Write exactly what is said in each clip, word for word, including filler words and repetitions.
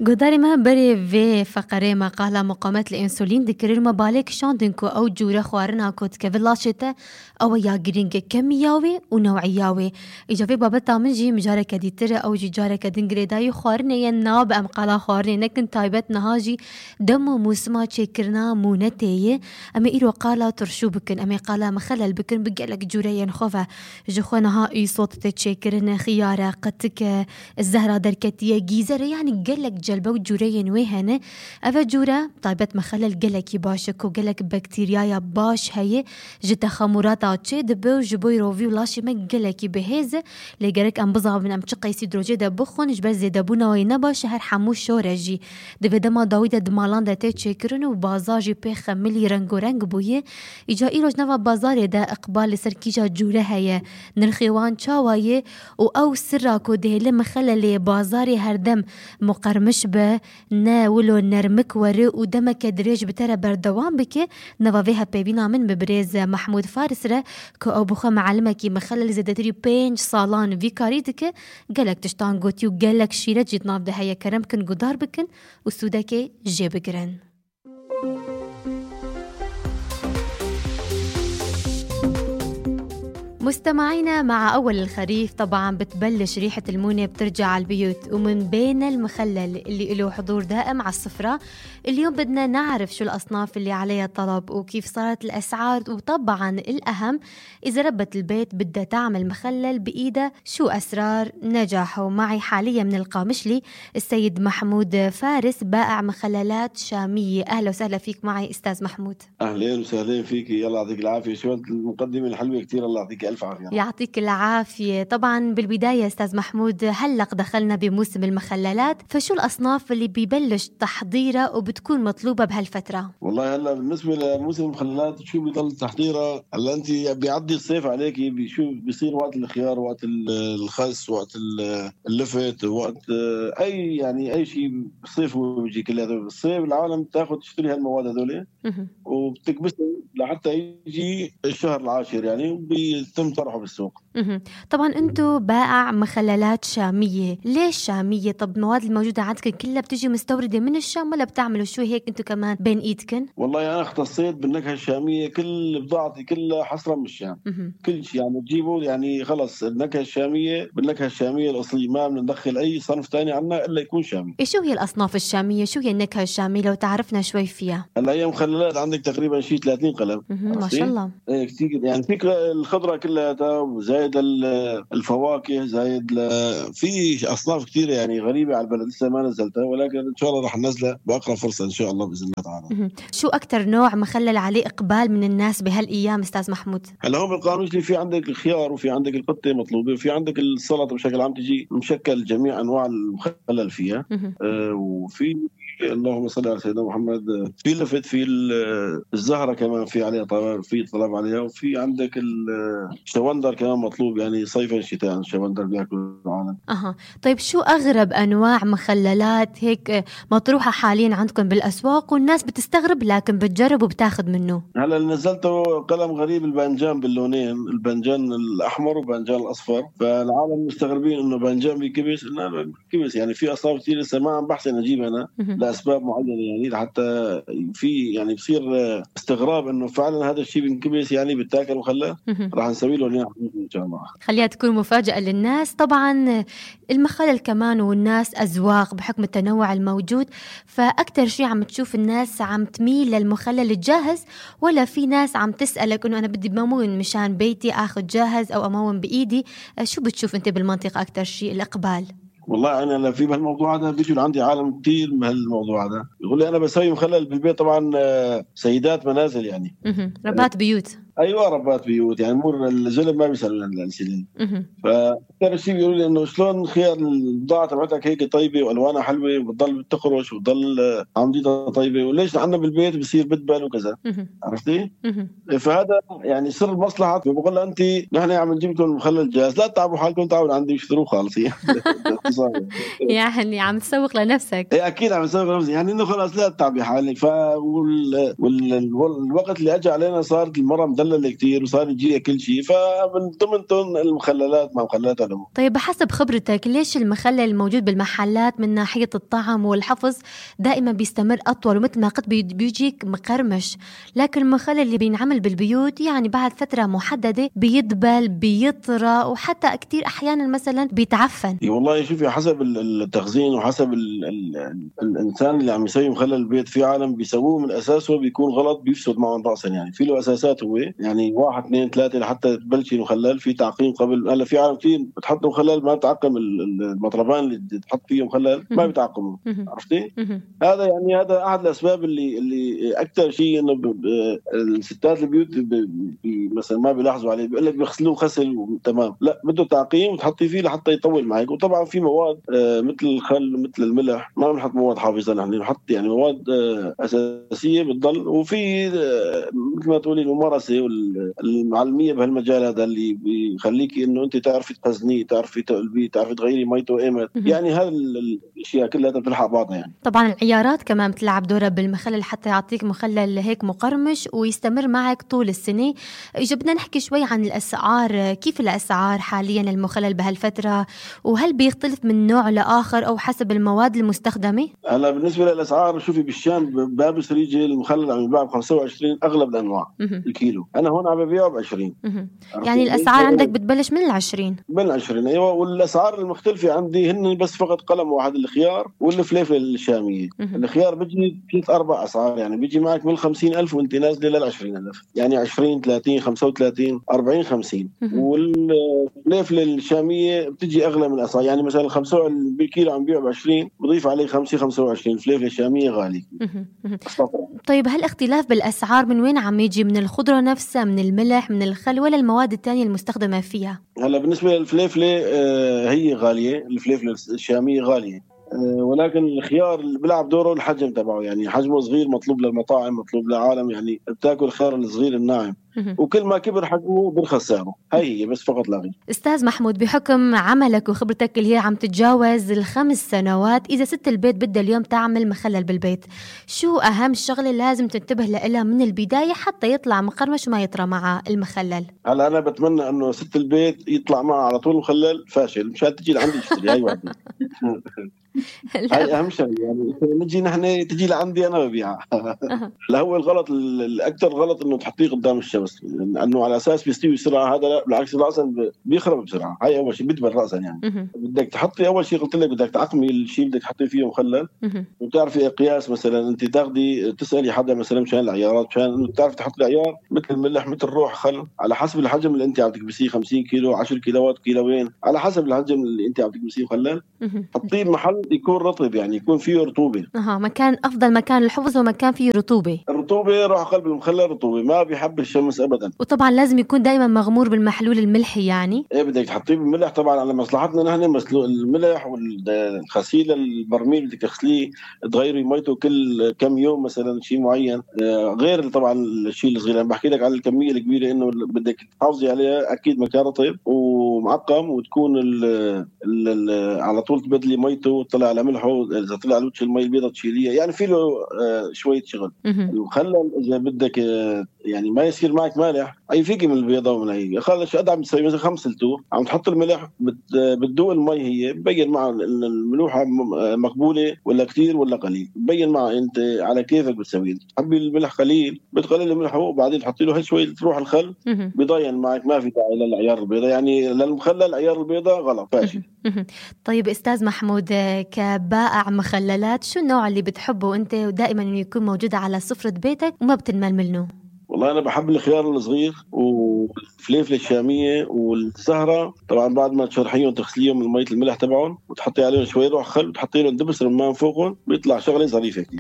گوداری ما بری وی فقره مقاله مقاومت الانسولین دکریر ما بالک شاندن کو او جوره خوارنا کد که ولاشته او یا گرینگ کمیاوی و نوعیاوی ایجابی بابت تامن جی مجاره کدیتر او جی جاره کدن گریدای خوارنه ین ناب ام قالا خوارنه نکن تایبت نهاجی دم و موسما چکرنا مونتیه اما ایرو قالا ترشو بکن اما قالا مخلل بکن بگلک جوره ین خوفه جخو نها ای صوت تچکرن خياره قتك الزهره دركتيه جيزره يعني قلك جلبه وجورين وهنا أفا جورة طيبت مخلل قلك باشك وقلك بكتيريا باش هي جت خمورات عطشة دبو جبوي روفي ولاشي ما قلك بهذا لقرك أم بضع من أم تشقي سيدروجي دبخون جبل زي دبونا وينبا شهر حموش شورجي دبي دما داويدا دمالان دا تيتشكرن وبازاجي بيخ ملي رنگو رنگ بويه إجا إيروج نوا بازار دا إقبال لسركيجا جورة هي نرخيوان چاوايه و أو سراكو دهله مخلل بازاري هردم مقرمش به نه ولو نرمک وره و دمک دريج بتره بردوام بکه نوافيها بيبينا من ببريز محمود فارس ره که او بخوا معلمكي مخلل زدتري بينج صالان في كاريتك قالك تشتان قوتي و قالك شيرة جيت ناف ده هيا كرم كن قدار بكن و سودكي جي بقرن. مستمعينا مع أول الخريف طبعا بتبلش ريحة المونة بترجع على البيوت ومن بين المخلل اللي له حضور دائم على السفرة اليوم بدنا نعرف شو الأصناف اللي عليها طلب وكيف صارت الأسعار وطبعا الأهم إذا ربة البيت بدها تعمل مخلل بإيدها شو أسرار نجاحه. معي حاليا من القامشلي السيد محمود فارس بائع مخللات شامية. أهلا وسهلا فيك معي أستاذ محمود. أهلا وسهلا فيك يلا يعطيك العافية. شو المقدمة الحلوة كتير الله يعطيك ألف عافية. يعطيك العافية. طبعا بالبداية أستاذ محمود هلق دخلنا بموسم المخللات فشو الأصناف اللي بيبلش تحضيرها وبتكون مطلوبة بهالفترة؟ والله هلا بالنسبة لموسم المخللات شو بيضل تحضيرها هلا أنت بيعدي الصيف عليكي بشو بيصير وقت الخيار وقت الخس وقت اللفت وقت أي يعني أي شيء بالصيف بيجي كل هذا بالصيف العالم تاخد تشتري هالمواد هذول وبتكبسها لحتى يجي الشهر العاشر يعني وبيتم طرحه بالسوق. طبعا انتو بائع مخللات شامية. ليش شامية؟ طب المواد الموجودة عندكم كلها بتجي مستوردة من الشام ولا بتعملوا شو هيك انتو كمان بين ايدكن؟ والله انا اختصيت بالنكهة الشامية كل بضاعتي كلها حصرا من الشام. كل شيء يعني تجيبوا يعني خلص النكهة الشامية بالنكهة الشامية الأصلية ما بندخل أي صنف تاني عنا إلا يكون شامي. إيه شو هي الأصناف الشامية؟ شو هي النكهة الشامية لو تعرفنا شوي فيها؟ هلا هي مخللات عندك تقريبا شيء ثلاثين قلم. ما شاء الله. إيه كتير يعني فيك الخضرة كلها وزايد الفواكه زايد ل... في أصناف كتير يعني غريبة على البلد لسه ما نزلتها ولكن إن شاء الله رح ننزلها بأقرب فرصة إن شاء الله بإذن الله تعالى. شو أكتر نوع مخلل عليه إقبال من الناس بهالأيام أستاذ محمود؟ هلا هو بالقاموس في عندك الخيار وفي عندك القطة مطلوبة وفي عندك السلطة بشكل عام تجي مشكل جميع أنواع المخلل فيها. آه وفي اللهم صل على سيدنا محمد في لفت في الزهرة كمان في عليها طلب في طلب عليها وفي عندك الشوندر كمان مطلوب يعني صيفا شتاء الشوندر بياكل العالم. أها طيب شو أغرب أنواع مخللات هيك مطروحة حاليا عندكم بالأسواق والناس بتستغرب لكن بتجرب وبتاخذ منه؟ هلا نزلته قلم غريب البنجان باللونين البنجان الأحمر والبنجان الأصفر فالعالم مستغربين إنه بنجان بكبس لا كبس يعني في أصناف كتير لسه ما عم بحث أجيب أنا لأسباب معينة يعني حتى في يعني بصير استغراب إنه فعلا هذا الشيء بنكبس يعني بتاكل مخلل راح نسوي له إن شاء الله. خليها تكون مفاجأة للناس. طبعا المخلل كمان والناس أذواق بحكم التنوع الموجود فأكتر شيء عم تشوف الناس عم تميل للمخلل الجاهز ولا في ناس عم تسألك إنه أنا بدي بمون مشان بيتي أخذ جاهز أو أمون بإيدي؟ شو بتشوف أنت بالمنطقة أكتر شيء الإقبال؟ والله أنا في بهالموضوع هذا بيجوا عندي عالم كتير من هالموضوع هذا يقول لي أنا بسوي مخلل بالبيت طبعا سيدات منازل يعني ربات بيوت. ايوه ربات بيوت يعني مور الزلم ما بيسال الانسولين. فاكثر شيء بيقولوا لي انه شلون خيار البضاعه تبعتك هيك طيبه والوانها حلوه وبتضل بتخرج وبتضل عمديتها طيبه وليش عندنا بالبيت بصير بدبل وكذا عرفتي؟ فهذا يعني سر المصلحه. بقول لها انت نحن عم نجيب لكم المخلل جاهز لا تتعبوا حالكم تعالوا عندي اشتروه خالص يعني عم تسوق لنفسك. ايه اكيد عم تسوق لنفسي يعني انه خلاص لا تتعبي حالك. ف والوقت اللي اجى علينا صارت المره مخلل كتير وصار يجي كل شيء، فمن ضمنتهم المخللات مع مخللات العمر. طيب بحسب خبرتك ليش المخلل الموجود بالمحلات من ناحية الطعم والحفظ دائما بيستمر أطول ومثل ما قلت بيجيك مقرمش، لكن المخلل اللي بينعمل بالبيوت يعني بعد فترة محددة بيدبل بيطرى وحتى كتير أحيانا مثلا بيتعفن؟ والله شوفي حسب التخزين وحسب ال ال الإنسان اللي عم يسوي مخلل البيت. في عالم بيسووه من أساسه بيكون غلط بيفسد معهم رأسا، يعني في له أساسات هو يعني واحد اثنين ثلاثة لحتى تبلشي مخلل في تعقيم قبل. هلا في عالم كثير بتحط مخلل ما بتعقم المطربان اللي تحط فيه مخلل ما بيتعقموا، عرفتي؟ هذا يعني هذا أحد الأسباب اللي اللي أكثر شيء إنه الستات البيوت مثلا ما بيلاحظوا عليه، بيقول لك بيغسلوه غسل تمام، لا بده تعقيم وتحطي فيه لحتى يطول معك. وطبعا في مواد آه مثل الخل مثل الملح ما بنحط مواد حافظة، نحن بنحط يعني مواد آه أساسية بتضل. وفي آه مثل ما تقولي الممارسة والمعلمية بهالمجال هذا اللي بيخليكي إنه أنت تعرفي تخزنيه، تعرفي تقلبيه، تعرفي تغيري ميته إيمت، يعني هذا الأشياء كلها بتلحق بعضها. يعني طبعا العيارات كمان بتلعب دورها بالمخلل حتى يعطيك مخلل هيك مقرمش ويستمر معك طول السنة. إجا بدنا نحكي شوي عن الأسعار، كيف الأسعار حاليا المخلل بهالفترة، وهل بيختلف من نوع لآخر أو حسب المواد المستخدمة؟ هلا بالنسبة للأسعار شوفي بالشام باب سريجي المخلل عم يباع ب خمسة وعشرين أغلب الأنواع الكيلو، أنا هون عم ببيعه ب عشرين. يعني الأسعار عندك بتبلش من العشرين؟ من العشرين أيوة. والأسعار المختلفة عندي هن بس فقط قلم واحد الخيار والفليفلة الشامية. الخيار بيجي ثلاث أربع أسعار، يعني بيجي معك من خمسين ألف وأنت نازلة للعشرين ألف، يعني عشرين ثلاثين خمسة وثلاثين أربعين خمسين. والفليفلة الشامية بتجي أغلى من الأسعار، يعني مثلا خمسة بالكيلو عم بيعه بعشرين بضيف عليه خمسة خمسة وعشرين. الفليفلة الشامية غالي. طيب هل الاختلاف بالأسعار من وين عم يجي؟ من الخضرة نفسها، من الملح، من الخل، ولا المواد التانية المستخدمة فيها؟ هلا بالنسبة للفليفلة آه هي غالية، الفليفلة الشامية غالية، آه ولكن الخيار اللي بيلعب دوره الحجم تبعه، يعني حجمه صغير مطلوب للمطاعم مطلوب للعالم، يعني بتاكل الخيار الصغير الناعم، وكل ما كبر حجمه بيرخص سعره. هي هي بس فقط لا غير. استاذ محمود، بحكم عملك وخبرتك اللي هي عم تتجاوز الخمس سنوات، اذا ست البيت بدها اليوم تعمل مخلل بالبيت، شو اهم شغله لازم تنتبه لها من البدايه حتى يطلع مقرمش وما يطرى مع المخلل؟ هلا انا بتمنى انه ست البيت يطلع معها على طول مخلل فاشل مشان تجي لعندي تشتري. هاي واحده هاي اهم شيء، يعني نجي نحن تجي لعندي انا ببيعها. لا هو الغلط الاكثر غلط انه تحطيه قدام الشمس، لانه على اساس بيستوي بسرعه، هذا لا بالعكس راسا بيخرب بسرعه. هاي اول شيء بدبل راسا. يعني بدك تحطي اول شيء قلت لك بدك تعقمي الشيء بدك تحطي فيه مخلل، وتعرفي قياس. مثلا انت تاخذي تسالي حدا مثلا مشان العيارات، مشان انه تعرفي تحطي العيار مثل الملح مثل روح خل على حسب الحجم اللي انت عم تكبسيه، خمسين كيلو عشرة كيلوات كيلوين على حسب الحجم اللي انت عم تكبسيه مخلل. حطيه محل يكون رطب، يعني يكون فيه رطوبه. اها مكان افضل مكان الحفظ ومكان فيه رطوبه. الرطوبه روح قلب المخلل رطوبه، ما بيحب الشمس ابدا. وطبعا لازم يكون دائما مغمور بالمحلول الملحي. يعني ايه بدك تحطيه بالملح طبعا على مصلحتنا نحن. مسلوق الملح والغسيل البرميل بدك تغسليه تغيري ميته كل كم يوم مثلا شيء معين، غير طبعا الشيء الصغير. انا بحكي لك على الكميه الكبيره انه بدك تحافظي عليها اكيد مكان رطب ومعقم، وتكون ال ال ال على طول تبدلي ميته وتطلع على ملحه، اذا طلع على وجه المي البيضاء تشيليها. يعني في له شويه شغل. المخلل اذا بدك يعني ما يصير معك مالح اي فيك من البيضه ومن هي خلص شو قد عم تسوي مثلا خمس لتو عم تحط الملح بتدوق المي، هي ببين معها الملوحه مقبوله ولا كثير ولا قليل، ببين معها انت على كيفك بتسوي. تحبي الملح قليل بتقلل الملح وبعدين تحطي له هي شويه تروح الخل بضين معك، ما في داعي للعيار البيضاء. يعني للمخلل عيار البيضاء غلط فاشل. طيب استاذ محمود، كبائع مخللات شو النوع اللي بتحبه انت ودائما انه يكون موجود على سفرة بيتك وما بتنمل منه؟ والله أنا بحب الخيار الصغير والفليفلة الشامية والزهرة. طبعا بعد ما تشرحيهم تغسليهم من مية الملح تبعهم وتحطي عليهم شوية روح خل وتحطي لهم دبس رمان فوقهم بيطلع شغلة ظريفة كتير.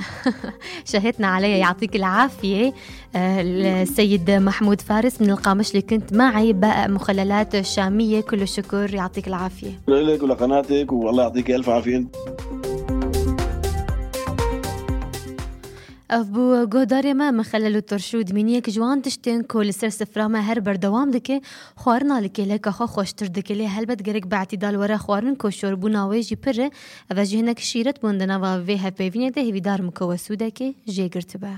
شهدنا عليها، يعطيك العافية. السيد محمود فارس من القامش اللي كنت معي بائع مخللات شامية، كل الشكر، يعطيك العافية لك ولقناتك والله يعطيك ألف عافية. أبو گۆدارێ me mixelel û torşû dimîniyek ji wan tiştên ku li ser sifra me her berdewam dike, xwarina li kêleka xwe xweştir dike. Lê helbet gerek beetîdal were xwarin ku şorbûna wê jî pir e. Ev jî hinek şîret bûn di nava vê hevpêvînê de hêvîdar min ku we sûdekê jê girtibe.